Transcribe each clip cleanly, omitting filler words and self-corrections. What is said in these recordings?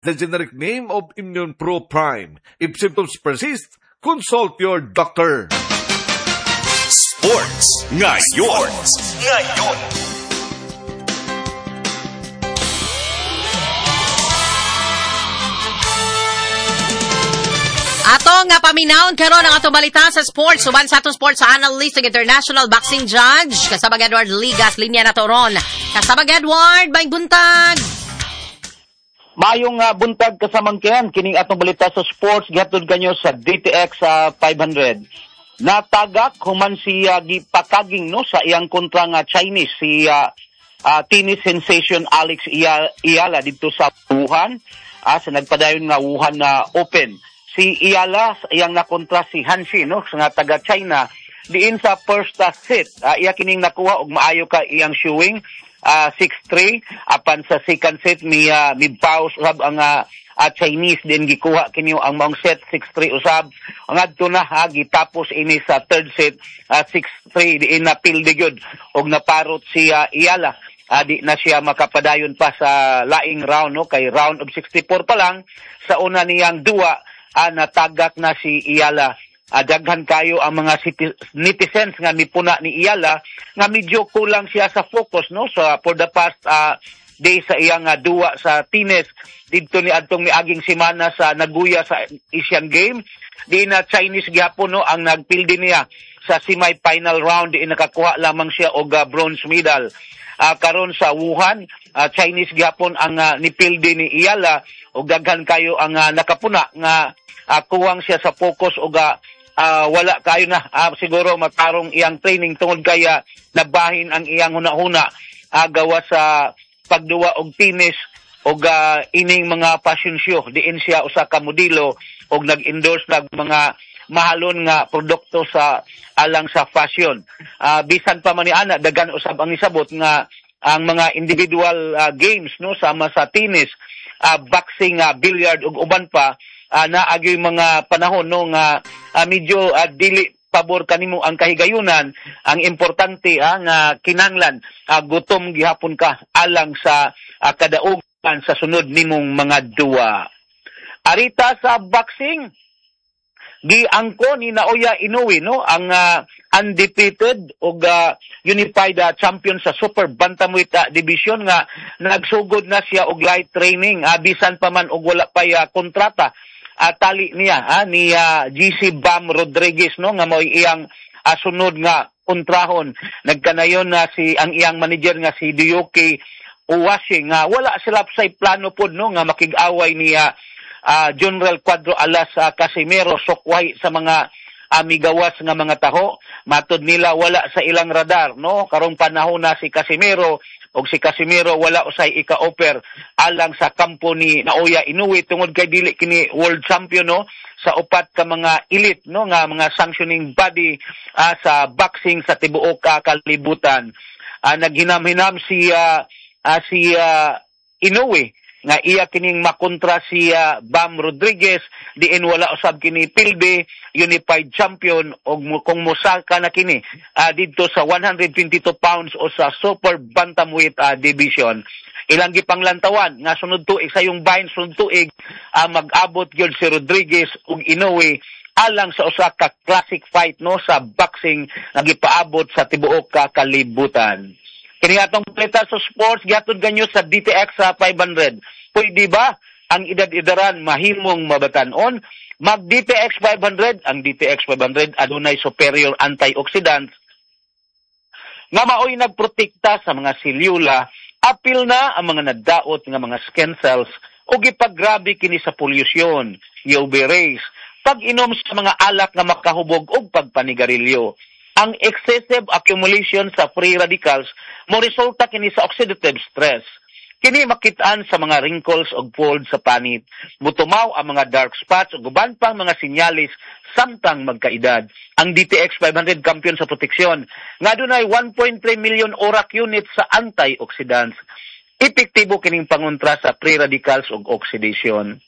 The generic name of Immune Pro Prime. If symptoms persist, consult your doctor. Sports Ngayon. Ngayon. Ato nga paminawon karon ang atong balita sa sports. Uban sa atong sports analyst ng international boxing judge, kasabag Edward Ligas, linya na to ron. Kasabag Edward, may buntag. Mayong buntag kasamangkihan, kining atong balita sa sports gihatod kanyo sa DTX 500. Natagak human si gipakaging no sa iyang kontra nga Chinese si tennis sensation Alex Eala didto sa Wuhan, sa nagpadayon nga Wuhan na Open. Si Eala iyang nakontra si Hanshi no nga taga China diin sa first set. Iya kining nakuha og maayo ka iyang showing. 6-3 apan sa second set mi pause usab ang Chinese din gikuha kini ang maong set 6-3 usab ngadto na gitapos ini sa third set 6-3 diin na pildi gyud og naparot si Eala. Di na siya makapadayon pa sa laing round no kay round of 64 pa lang sa una niyang duwa natagak na si Eala. Daghan kayo ang mga netizens nga mipuna ni Eala nga medyo kulang siya sa focus no so for the past day sa iyang duwa sa tennis didto ni adtong miaging semana sa Nagoya sa Asian Games di na Chinese gyapon no ang nagpildi niya sa semi-final round di nakakuha lamang siya og bronze medal. Karon sa Wuhan Chinese gyapon ang nipildi ni Eala og daghan kayo ang nakapuna nga kuwang siya sa focus og wala kayo na siguro matarong iyang training tungod kaya nabahin ang iyang hunahuna gawa sa pagduwa og tennis og ining mga fashion show diin siya usa ka modelo og nag-endorse nag mga mahalon nga produkto sa alang sa fashion. Bisan pa man ni ana daghan usab ang isabot nga ang mga individual games no sama sa tennis, boxing, billiard ug uban pa naagyoy mga panahon no nga medyo dili pabor kanimo ang kahigayunan. Ang importante nga kinanglan gutom gihapon ka alang sa kadaugan sa sunod nimong mga duwa. Arita sa boxing, giangko ni Naoya Inoue no ang undefeated og unified champion sa super bantamweight division nga nagsugod na siya og light training bisan pa man og wala pay kontrata. Tali niya ni GC Bam Rodriguez no nga mo'y iyang sunod nga kontrahon. Nagkanayon na si ang iyang manager nga si Diyuki Uwashi nga wala sila sa plano pod no nga makig-away niya General Cuadro Alas Casimero sukway sa mga amigawas nga mga taho. Matod nila wala sa ilang radar no karong panahon na si Casimero og si Casimero wala usay ika-offer alang sa kampo ni Naoya Inoue tungod kay dili kini world champion no sa upat ka mga elite no nga mga sanctioning body sa boxing sa tibuok kalibutan. Naghinam-hinam si Inoue nga iya kining makontra si Bam Rodriguez diin wala usab kini pilde unified champion og kung mosaka na kini didto sa 122 pounds o sa super bantamweight division. Ilang gipanglantawan nga sunod tuig sa yung bahin sunod tuig mag-abot gyud si Rodriguez ug Inoue alang sa usa ka classic fight no sa boxing nga gipaabot sa tibuok ka kalibutan. Kini atong balita sa sports gihatod kanyo sa DTX sa 500. Pwede ba ang edad-edaran mahimong mabatan-on? Mag DTX 500, ang DTX 500 adunay superior antioxidants nga maoy nagprotekta sa mga selyula, apil na ang mga nadaot nga mga skin cells o gipagrabe kini sa polusyon, UV rays, pag-inom sa mga alak nga makahubog og pagpanigarilyo. Ang excessive accumulation sa free radicals mo resulta kini sa oxidative stress. Kini makitaan sa mga wrinkles og folds sa panit. Mutumaw ang mga dark spots ug uban pang mga sinyalis samtang magkaedad. Ang DTX 500 kampiyon sa proteksyon nga dunay 1.3 million ORAC units sa antioxidants. Epektibo kining pangontra sa free radicals ug oxidation.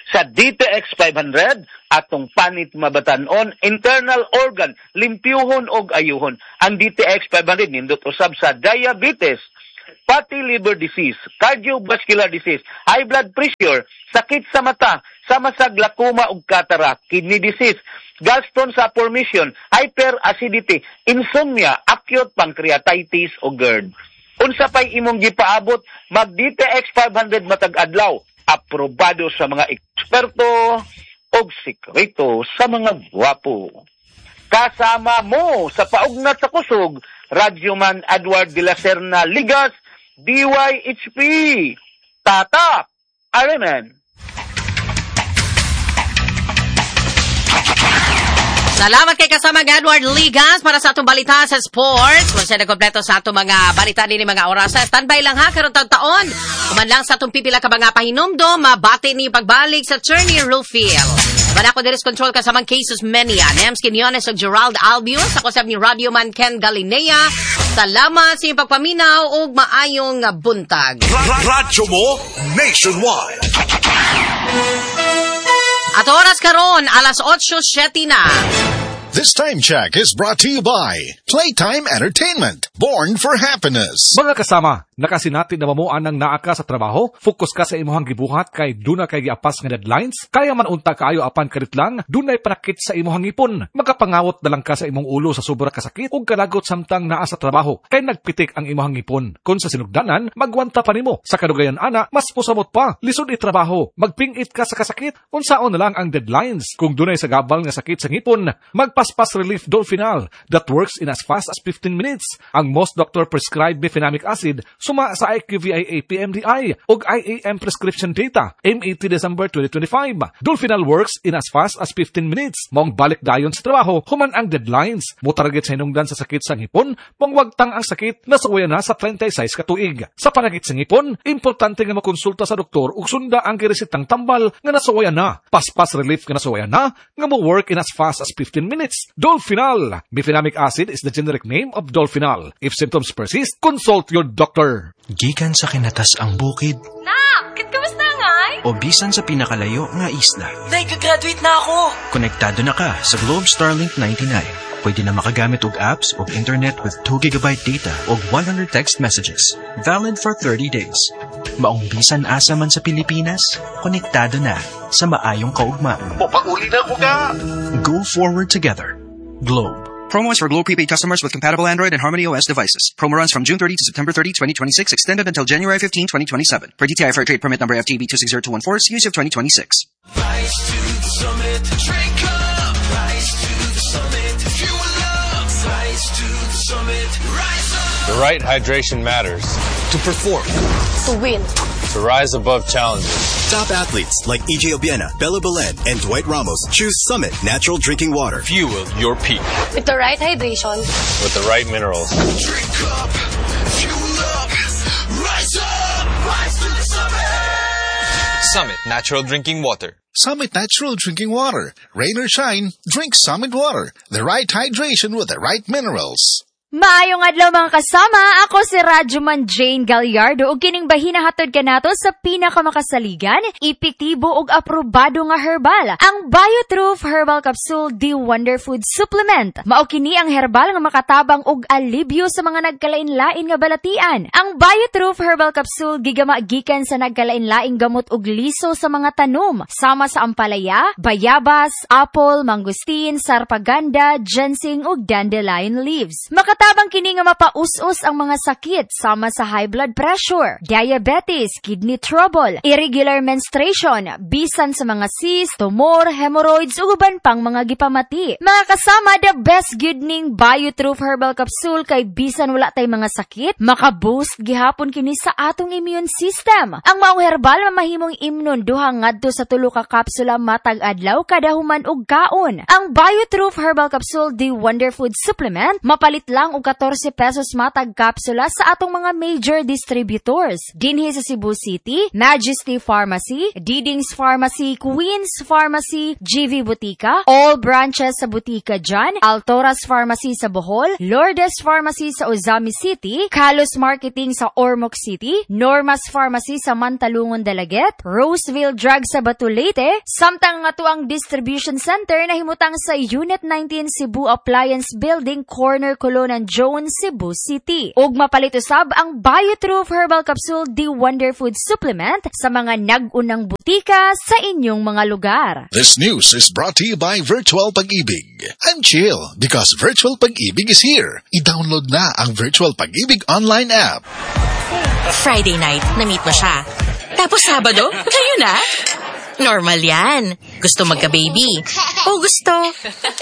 Sa DTX 500, atong panit mabatan-on, internal organ, limpyuhon og ayuhon. Ang DTX 500 nindot usab sa diabetes, fatty liver disease, cardiovascular disease, high blood pressure, sakit sa mata, sama sa glaucoma ug cataract, kidney disease, gallstone sa formation, hyperacidity, insomnia, acute pancreatitis o GERD. Unsa pay imong gipaabot, mag DTX 500 matag adlaw, aprobado sa mga eksperto og sikreto sa mga gwapo. Kasama mo sa paugnat sa kusog, Radyoman Edward de la Serna Ligas, DYHP. Tatak, Aremen. Salamat kay kasama Edward Ligas para sa atong balita sa sports. Kung siya kompleto sa atong mga balita din mga oras. Standby lang ha, karon taon-taon. Kuman lang sa atong pipila ka mga pahinumdom, mabati ni pagbalik sa Attorney Rufil. Wala ko diris control kasamang Cases Menia, Nems Quinones ug Gerald Albion, sa kusab ni Radyoman Ken Galinea. Salamat sa inyong pagpaminaw ug maayong buntag. Radyo mo nationwide. At oras karon alas 8:07 na. This time check is brought to you by Playtime Entertainment, born for happiness. Mga kasama, nakasinati na mamuan ng naa ka sa trabaho, focus ka sa imuhang gibuhat kay duna kay giapas nga deadlines, kaya man unta kaayo apan karit lang, dunay panakit sa imuhang ngipon. Makapangawot na lang ka sa imong ulo sa sobra kasakit ug kalagot samtang naa sa trabaho, kay nagpitik ang imuhang ngipon. Kun sa sinugdanan, magwanta pa nimo. Sa kadugayan ana, mas mosamot pa, lisod itrabaho, magpingit ka sa kasakit, unsaon na lang ang deadlines. Kung dunay sa gabal nga sakit sa ngipon, magpaspas relief Dolphinal that works in as fast as 15 minutes. Ang most doctor prescribed mefenamic acid suma sa IQVIA PMDI ug IAM prescription data MAT December 2025. Dolphinal works in as fast as 15 minutes. Maong balik dayon sa trabaho human ang deadlines. Motarget sa hinungdan sa sakit sa ngipon, maong wagtang ang sakit nasuwayan na sa 36 ka tuig. Sa panagit sa ngipon, importante nga makonsulta sa doktor ug sunda ang giresetang tambal nga nasuwayan na. Paspas relief nga nasuwayan na nga mo work in as fast as 15 minutes. Dolphinal. Mefenamic acid is the generic name of Dolphinal. If symptoms persist, consult your doctor. Gikan sa kinatas ang bukid. Nak, kamusta nga? O bisan sa pinakalayo nga isla. Nag-graduate na ako. Konektado na ka sa Globe Starlink 99. Pwede na makagamit og apps o internet with 2 GB data o 100 text messages. Valid for 30 days. Maong bisan asa man sa Pilipinas, konektado na sa maayong kaugma. Pauli na ko ka! Go forward together. Globe. Promo is for Globe prepaid customers with compatible Android and Harmony OS devices. Promo runs from June 30 to September 30, 2026, extended until January 15, 2027. Per DTI Fair Trade Permit number FTB 260214, CUC of 2026. Rise to the summit, drink up. Rise to the summit, fuel up. Rise to the summit, rise up. The right hydration matters. To perform. To win. To rise above challenges. Top athletes like EJ Obiena, Bella Belen, and Dwight Ramos choose Summit Natural Drinking Water. Fuel your peak. With the right hydration. With the right minerals. Drink up, fuel up, rise up, rise to the summit. Summit Natural Drinking Water. Summit Natural Drinking Water. Rain or shine, drink Summit Water. The right hydration with the right minerals. Maayong adlaw mga kasama, ako si Radyoman Jane Gallardo ug kining bahina hatod kanato sa pinakamakasaligan, epektibo ug aprobado nga herbal, ang BioTrue Herbal Capsule D Wonder Food Supplement. Mao kini ang herbal nga makatabang og alibyo sa mga nagkalain-lain nga balatian. Ang BioTrue Herbal Capsule gigama gikan sa nagkalain-laing gamot ug liso sa mga tanom, sama sa ampalaya, bayabas, apple, mangustin, sarpaganda, ginseng ug dandelion leaves. Makatabang kini nga mapaus-us ang mga sakit sama sa high blood pressure, diabetes, kidney trouble, irregular menstruation, bisan sa mga cyst, tumor, hemorrhoids ug uban pang mga gipamati. Mga kasama, the best gyud ning BioTrue Herbal Capsule kay bisan wala tay mga sakit, makaboost gihapon kini sa atong immune system. Ang maong herbal mamahimong imnon duha ngadto sa tulo ka kapsula matag adlaw kada human og kaon. Ang BioTrue Herbal Capsule D Wonder Food Supplement mapalit lang og 14 pesos matag kapsula sa atong mga major distributors. Dinhi sa Cebu City, Majesty Pharmacy, Diding's Pharmacy, Queen's Pharmacy, GV Butika, all branches sa Butika Jan, Altoras Pharmacy sa Bohol, Lourdes Pharmacy sa Ozami City, Kalos Marketing sa Ormoc City, Norma's Pharmacy sa Mantalungon Dalaguete, Roseville Drug sa Batulete, samtang nga ang distribution center na himutang sa Unit 19 Cebu Appliance Building, corner Colona Katipunan Jones, Cebu City. Ug mapalit usab ang BioTrue Herbal Capsule D Wonder Food Supplement sa mga nag-unang butika sa inyong mga lugar. This news is brought to you by Virtual Pag-ibig. I'm chill because Virtual Pag-ibig is here. I-download na ang Virtual Pag-ibig online app. Friday night, na-meet mo siya. Tapos Sabado, kayo na. Normal yan. Gusto magka-baby. O gusto,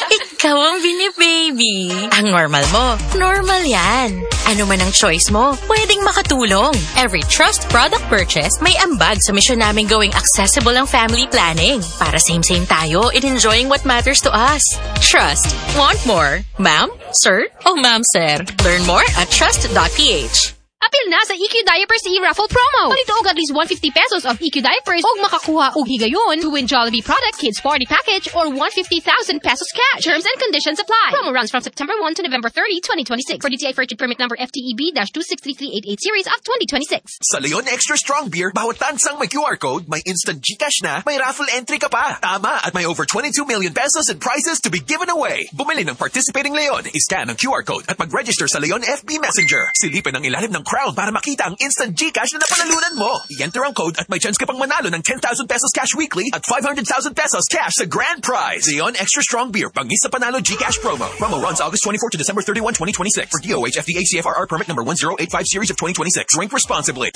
ikaw ang binibaby. Ang normal mo, normal yan. Ano man ang choice mo, pwedeng makatulong. Every Trust product purchase, may ambag sa mission namin gawing accessible ang family planning. Para same-same tayo in enjoying what matters to us. Trust. Want more? Ma'am? Sir? O ma'am, sir? Learn more at trust.ph. Apil na sa EQ Diapers e-raffle promo. Palit og at least ₱150 of EQ Diapers og makakuha og higayon to win Jollibee product, Kids Party Package, or ₱150,000 cash. Terms and conditions apply. Promo runs from September 1 to November 30, 2026. For DTI Fair Trade Permit number FTEB-263388 series of 2026. Sa Leon Extra Strong Beer, bawat tansang may QR code, may instant GCash na, may raffle entry ka pa. Tama, at may over ₱22 million in prizes to be given away. Bumili ng participating Leon, iscan ang QR code at mag-register sa Leon FB Messenger. Silipin ang ilalim ng crown para makita ang instant GCash na napanalunan mo. I-enter ang code at may chance ka pang manalo ng ₱10,000 cash weekly at ₱500,000 cash sa grand prize. Leon Extra Strong Beer, bangis sa panalo GCash promo. Promo runs August 24 to December 31, 2026. For DOH FDA CFRR permit number 1085 series of 2026. Drink responsibly.